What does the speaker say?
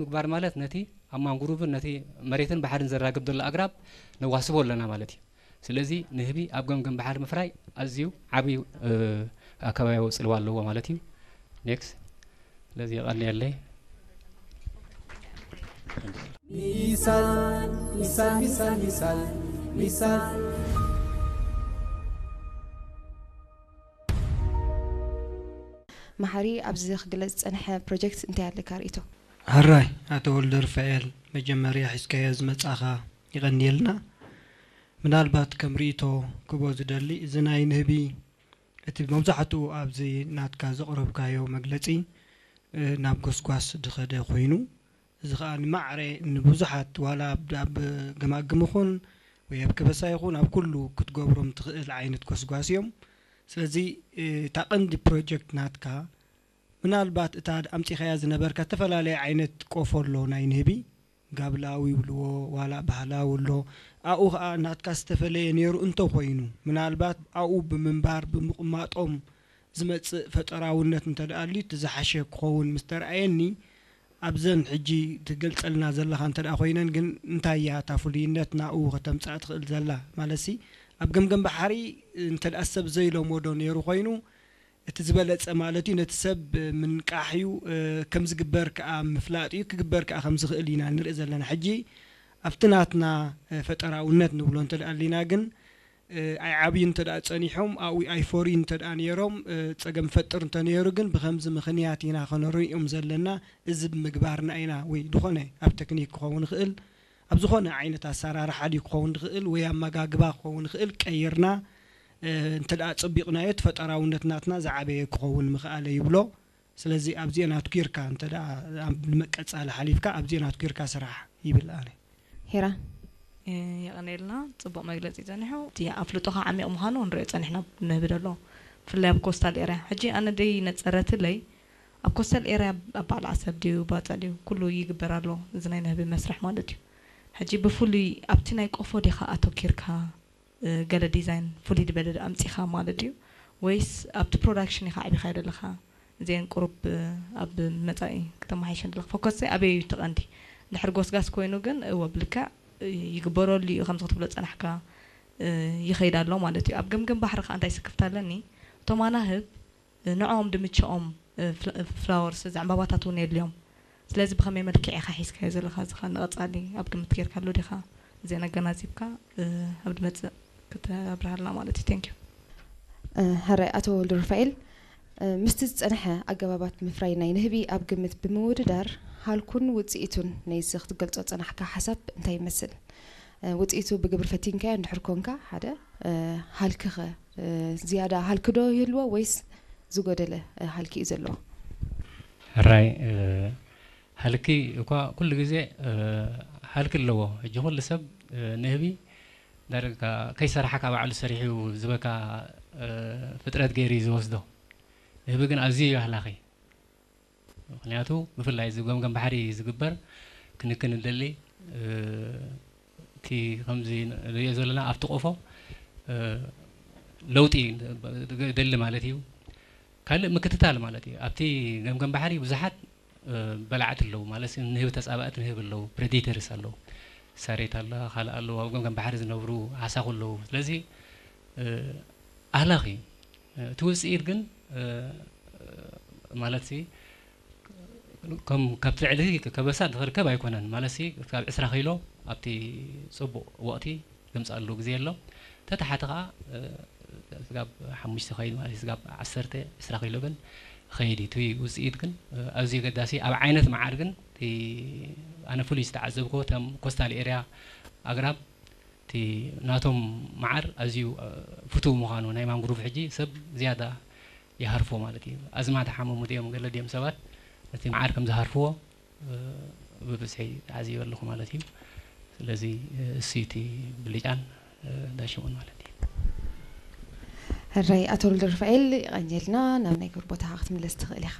ምግባር ማለት ነቲ ኣብ ማንጉሩቭን ነቲ መሬትን ባሕርን ዘራግብ ዘሎ ኣግራብ ነዋስቦ ኣለና ማለት እዩ። ስለዚ ንህቢ ኣብ ገምገም ባሕሪ ምፍራይ ኣዝዩ ዓብዩ ኣከባቢያዊ ጽልዋ ኣለዎ ማለት እዩ። ኔክስት። ስለዚ የቐንየለይ። ሚሳል ሚሳል ሚሳል ሚሳል ሚሳል። መሓሪ፣ ኣብዚ ክግለጽ ዝጸንሐ ፕሮጀክት እንታይ ኣለካ ርእይቶ? ሕራይ ኣቶ ወልደሩፋኤል፣ መጀመርያ ሒዝካዮ ዝመጻኻ ይቐንየልና። ምናልባት ከም ርእይቶ ክቦ ዝደሊ፣ እዚ ናይ ንህቢ እቲ መብዛሕትኡ ኣብዚ ናትካ ዘቕረብካዮ መግለጺ ናብ ጎስጓስ ዝኸደ ኮይኑ፣ እዚ ኸኣ ንማዕረ ንብዙሓት ዋላ ኣብ ገማግም ኹን ወይ ኣብ ከበሳ ይኹን ኣብ ኩሉ ክትገብሮም ትኽእል ዓይነት ጎስጓስ እዮም። ስለዚ እታ ቀንዲ ፕሮጀክት ናትካ ምናልባት እታ ኣምጺኻያ ዝነበርካ ዝተፈላለየ ዓይነት ቆፎ ኣሎ ናይ ንህቢ ጋብላዊ ይብልዎ ዋላ ባህላዊ ኣሎ ኣብኡ ኸኣ ናትካ ዝተፈለየ ነይሩ እንተኾይኑ ምናልባት ኣብኡ ብምንባር ብምቕማጦም ዝመጽእ ፈጠራውነት እንተ ደኣ ኣልዩ እቲ ዝሓሸ ክኸውን ምስ ተረኣየኒ ኣብዘን ሕጂ ትገልጸልና ዘለኻ እንተ ደኣ ኮይነን ግን እንታይ እያ እታ ፍሉይነት ናብኡ ከተምጽኣ ትኽእል ዘላ ማለትሲ ኣብ ገምገም ባሕሪ እንተ ደኣ ሰብ ዘይለመዶ ነይሩ ኮይኑ እቲ ዝበለጸ ማለት እዩ ነቲ ሰብ ምንቃሕ እዩ ከም ዝግበር ከኣ ምፍላጥ እዩ ክግበር ከኣ ከም ዝኽእል ኢና ንርኢ ዘለና ሕጂ ኣብቲ ናትና ፈጠራውነት ንብሎ እንተ ደኣ ኣሊና ግን ኣይዓብዩ እንተ ደኣ ጸኒሖም ኣብኡ ኣይፈርዩ እንተ ደኣ ነይሮም ጸገም ፈጥር እንተ ነይሩ ግን ብኸምዚ ምኽንያት ኢና ከነርእዮም ዘለና እዚ ብምግባርና ኢና ወይ ዝኾነ ኣብ ተክኒክ ክኸውን ይኽእል ኣብ ዝኾነ ዓይነት ኣሰራርሓ ድዩ ክኸውን ዝኽእል ወይ ኣመጋግባ ክኸውን ይኽእል ቀይርና እንተ ደኣ ጸቢቕናዮ እቲ ፈጠራውነት ናትና ዝዓበየ ክኸውን ምኽኣለ ይብሎ። ስለዚ ኣብዚአን ኣትኲርካ እንተ ደኣ ኣብ መቀጻሊ ሓሊፍካ ኣብዚአን ኣትኲርካ ስራሕ ይብል ኣነ። ሄራን የቐንየልና ጽቡቕ መግለጺ ጸኒሑ እቲ ኣፍልጦኻ ዓሚቕ ምዃኑ ንሪኦ ጸኒሕና ነህቢ ደሎ ብፍላይ ኣብ ኮስታል ኤርያ ሕጂ ኣነ ደይ ነጸረትለይ ኣብ ኮስታል ኤርያ ኣብ በዓል ዓሰብ ድዩ ባጽዕ ድዩ ኩሉ ይግበር ኣሎ እዚ ናይ ነህቢ መስርሕ ማለት እዩ ሕጂ ብፍሉይ ኣብቲ ናይ ቆፎ ዲኻ ኣተኪርካ ገለ ዲዛይን ፍሉይ ዝበለ ኣምጺኻ ማለት ድዩ ወይስ ኣብቲ ፕሮዳክሽን ኢኻ ኣዕቢኻዮ ዘለኻ እዚአን ቁሩብ ኣብ መጻኢ ክተመሓይሸን ዘለኻ ፎከስ ኣበይ እዩ እቲ ቀንዲ እንድሕር ጎስጋስ ኮይኑ ግን እወ ብልክዕ ይግበረሉ እዩ ከምዚ ክትብሎ ዝጸናሕካ ይኸይድ ኣሎ ማለት እዩ ኣብ ገምገም ባሕሪ ከዓ እንታይ ስክፍታ ኣለኒ እቶም ኣናህብ ንዕኦም ድምችኦም ፍላወርስ እዚ ዕምባባታት እውን የድልዮም ስለዚ ብኸመይ መልክዕ ኢኻ ሒዝካዮ ዘለኻ እዚ ኸ ንቐጻሊ ኣብ ግምት ጌርካሉ ዲኻ እዚአን ኣገናዚብካ ኣብ ድመጽእ ክተብርሃልና ማለት እዩ thank you ሕራይ ኣቶ ወልደሩፋኤል ምስቲ ዝጸንሐ ኣገባባት ምፍራይ ናይ ንህቢ ኣብ ግምት ብምውድዳር ሃልኩን ውጽኢቱን ናይዚ ክትገልጾ ዝጸናሕካ ሓሳብ እንታይ ይመስል ውጽኢቱ ብግብሪ ፈቲንካዮ እንድሕር ኮንካ ሓደ ሃልክኸ ዝያዳ ሃልኪ ዶ ይህልዎ ወይስ ዝጎደለ ሃልኪ እዩ ዘለዎ? ሕራይ ሃልኪ እኳ ኩሉ ግዜ ሃልኪ ኣለዎ። ሕጂ ኩሉ ሰብ ንህቢ ዳርጋ ከይሰራሓ ካብ ባዕሉ ሰሪሑ ዝበካ ፍጥረት ገይሩ እዩ ዝወስዶ። ንህቢ ግን ኣዝዩ እዩ ኣህላኺ። ምኽንያቱ ብፍላይ እዚ ገምገም ባሕሪ ዝግበር ክንክን ንደሊ እቲ ከምዚ ንሪኦ ዘለና ኣብቲ ቆፎ ለውጢ ደሊ ማለት እዩ። ካልእ ምክትታል ማለት እዩ። ኣብቲ ገምገም ባሕሪ ብዙሓት በላዕቲ ኣለዉ ማለት ንህቢ ተፃባእቲ ንህቢ ኣለዉ፣ ፕሬዲተርስ ኣለዉ፣ ሳሬት ኣላ፣ ካልእ ኣለዉ፣ ኣብ ገምገም ባሕሪ ዝነብሩ ዓሳኹ ኣለዉ። ስለዚ ኣህላኽ እዩ። እቲ ውፅኢት ግን ማለት ሲ ከም ካብቲ ልዕሊ ከበሳ ዝኽርከብ ኣይኮነን ማለት ሲ ካብ ዕስራ ኪሎ ኣብቲ ፅቡቕ ወቕቲ ዘምፅኣሉ ግዜ ኣሎ። ተታሓቲ ከዓ ስጋብ ሓሙሽተ ኸይድ ማለት ስጋብ ዓሰርተ ዕስራ ኪሎ ግን ኸይድ እቲ ውፅኢት ግን ኣዝዩ ገዳሲ ኣብ ዓይነት መዓር ግን ኣነ ፍሉይ ዝተዓዘብኮ ተም ኮስታል ኤርያ ኣግራብ እቲ ናቶም መዓር ኣዝዩ ፍቱው ምዃኑ ናይ ማንግሩቭ ሕጂ ሰብ ዝያዳ ይሃርፎ ማለት እዩ። ኣዝማድ ሓመሙ ድዮም ገለ ድዮም ሰባት ነቲ መዓር ከም ዝሃርፍዎ ብብዝሒ ተዓዚበ ኣለኹ ማለት እዩ። ስለዚ እሱ እቲ ብልጫን ዳሽሙን ማለት እዩ። ሕራይ ኣቶ ወልደሩፋኤል ይቐንየልና ናብ ናይ ግብር ቦታኻ ክትምለስ ትኽእል ኢኻ።